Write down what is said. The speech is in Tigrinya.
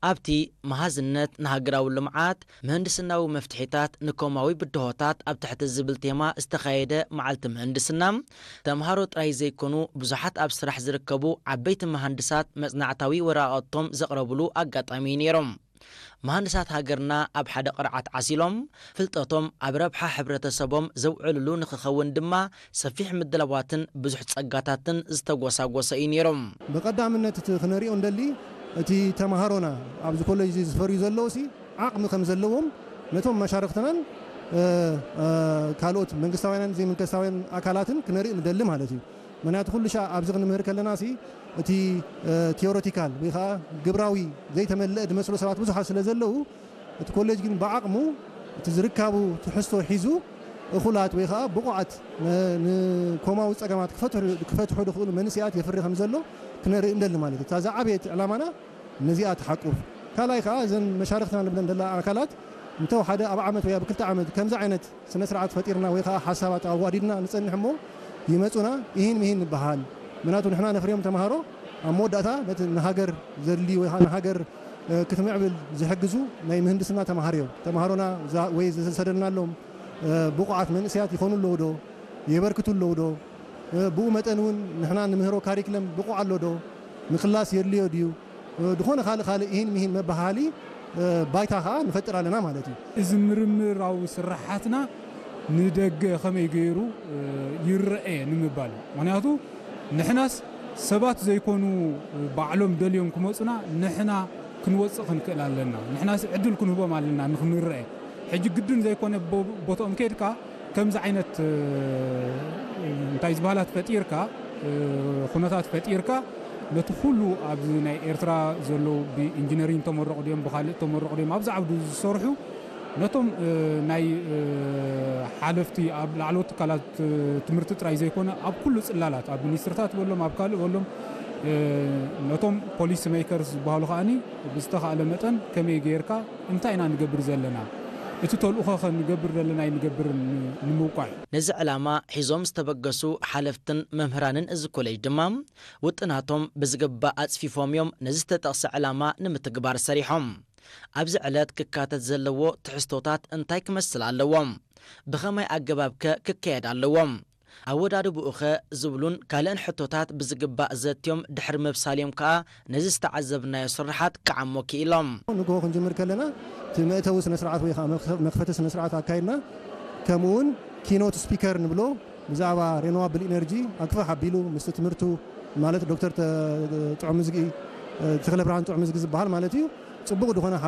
ኣብቲ መሃዝነት ንሃገራዊ ልምዓት፣ ምህንድስናዊ መፍትሒታት ንኮማዊ ብድሆታት ኣብ ትሕቲ ዝብል ቴማ ዝተኻየደ መዓልቲ ምህንድስና፣ ተምሃሮ ጥራይ ዘይኮኑ ብዙሓት ኣብ ስራሕ ዝርከቡ ዓበይቲ መሃንድሳት መጽናዕታዊ ወረቓቕቶም ዘቕረብሉ ኣጋጣሚ ነይሮም። መሃንድሳት ሃገርና ኣብ ሓደ ቅርዓት ዓሲሎም፣ ፍልጠቶም ኣብ ረብሓ ሕብረተሰቦም ዘውዕልሉ ንክኸውን ድማ ሰፊሕ ምድላዋትን ብዙሕ ጸጋታትን ዝተጎሳጎሰ እዩ ነይሮም። ብቐዳምነት እቲ ክነሪኦ እንደሊ እቲ ተምሃሮና ኣብዚ ኮሌጅ እዚ ዝፈርዩ ዘለዉ ሲ ዓቕሚ ከም ዘለዎም ነቶም መሻርኽትናን ካልኦት መንግስታውያንን ዘይመንግስታውያን ኣካላትን ክነርኢ ንደሊ ማለት እዩ። ምክንያቱ ኩሉ ሻዕ ኣብዚ ክንምህር ከለና ሲ እቲ ቲዮሬቲካል ወይ ከዓ ግብራዊ ዘይተመልአ ዝመስሎ ሰባት ብዙሓት ስለ ዘለዉ እቲ ኮሌጅ ግን ብዓቕሙ እቲ ዝርካቡ ትሕዝቶ ሒዙ እኹላት ወይ ከዓ ብቑዓት ንኮማዊ ፀገማት ክፈትሑ ዝኽእሉ መንስያት የፍሪ ከም ዘሎ ክነርኢ እንደሊ ማለት እዩ። እታ ዝዓበየት ዕላማና ነዚኣ ትሓቁፍ። ካልኣይ ከዓ እዘን መሻርክትና ንብለን ዘለና ኣካላት እንተወሓደ ኣብ ዓመት ወይ ኣብ ክልተ ዓመት ከምዚ ዓይነት ስነ ስርዓት ፈጢርና ወይ ከዓ ሓሳባት ኣዋዲድና ንፀንሕ እሞ ይመፁና ይህን ምሂን ንበሃል። ምክንያቱ ንሕና ነፍርዮም ተምሃሮ ኣብ መወዳእታ ነቲ ንሃገር ዘድልዩ ወይ ከዓ ንሃገር ክትምዕብል ዝሕግዙ ናይ ምህንድስና ተምሃሮ እዮም። ተምሃሮና ወይ ዝሰደድናሎም ብቑዓት መንእሰያት ይኾኑ ኣለዉ ዶ? የበርክቱ ኣለዉ ዶ? ብኡ መጠን እውን ንሕና ንምህሮ ካሪክለም ብቑዕ ኣሎ ዶ? ምክላስ የድልዮ ድዩ? ዝኾነ ካልእ ካልእ ይህን ምሂን መበሃሊ ባይታ ከዓ ንፈጥር ኣለና ማለት እዩ። እዚ ምርምራዊ ስራሓትና ንደገ ከመይ ገይሩ ይረአ ንምባል እዩ። ምክንያቱ ንሕናስ ሰባት ዘይኮኑ ባዕሎም ደልዮም ክመፁና ንሕና ክንወፅእ ክንክእል ኣለና። ንሕናስ ዕድል ክንህቦም ኣለና ንክንረአ። ሕጂ ግድን ዘይኮነ ቦ- ቦትኦም ከይድካ ከምዚ ዓይነት እንታይ ዝበሃላት ፈጢርካ ኩነታት ፈጢርካ ነቲ ኩሉ ኣብዚ ናይ ኤርትራ ዘለዉ ብኢንጂነሪንግ ተመረቑ ድዮም ብካልእ ተመረቑ ድዮም ኣብዚ ዓውዲ ዝሰርሑ ነቶም ናይ ሓለፍቲ ኣብ ላዕለዎት ትካላት ትምህርቲ ጥራይ ዘይኮነ ኣብ ኩሉ ፅላላት ኣብ ሚኒስትርታት በሎም ኣብ ካልእ በሎም ነቶም ፖሊሲ ሜከርስ ዝበሃሉ ከዓኒ ብዝተኻእለ መጠን ከመይ ገይርካ እንታይ ኢና ንገብር ዘለና እቲ ተልእኾ ከ ንገብር ዘለና ኣይንገብርን ንምውቃዕ። ነዚ ዕላማ ሒዞም ዝተበገሱ ሓለፍትን መምህራንን እዚ ኮሌጅ ድማ ውጥናቶም ብዝግባእ ኣፅፊፎም እዮም ነዚ ዝተጠቕሰ ዕላማ ንምትግባር ሰሪሖም። ኣብዚ ዕለት ክካተት ዘለዎ ትሕዝቶታት እንታይ ክመስል ኣለዎ? ብኸመይ ኣገባብ ከ ክካየድ ኣለዎ? ኣወዳድብኡ ኸ ዝብሉን ካልእን ሕቶታት ብዝግባእ ዘትዮም ድሕሪ ምብሳል እዮም ከኣ ነዚ ዝተዓዘብናዮ ስርሓት ክዓሞ ክኢሎም። ንግሆ ክንጅምር ከለና እቲ መእተዊ ስነ ስርዓት ወይ ከዓ መኽፈቲ ስነ ስርዓት ኣካይድና ከምኡ እውን ኪኖት ስፒከር ንብሎ ብዛዕባ ሬኖዋብል ኢነርጂ ኣክፍሕ ኣቢሉ ምስቲ ትምህርቱ ማለት ዶክተር ጥዑምዝጊ ተክለ ብርሃን ጥዑምዝጊ ዝበሃል ማለት እዩ ፅቡቕ ዝኾነ